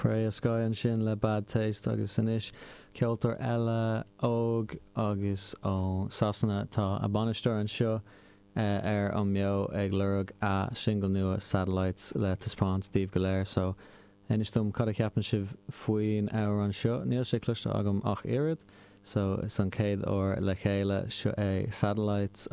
Freya Skye ansin le Bad Taste agus anois ceoltóir eile óg agus ó Sasana. Tá a bainisteoir anseo ar an mBeo ag lorg a singil nua Satellites le taispeáint daoibh go léir so inis dom cad a cheapann sibh faoin amhrán seo. Níl sé cloiste agam ach oiread so is an chéad uair le chéile. Seo é Satellites ó.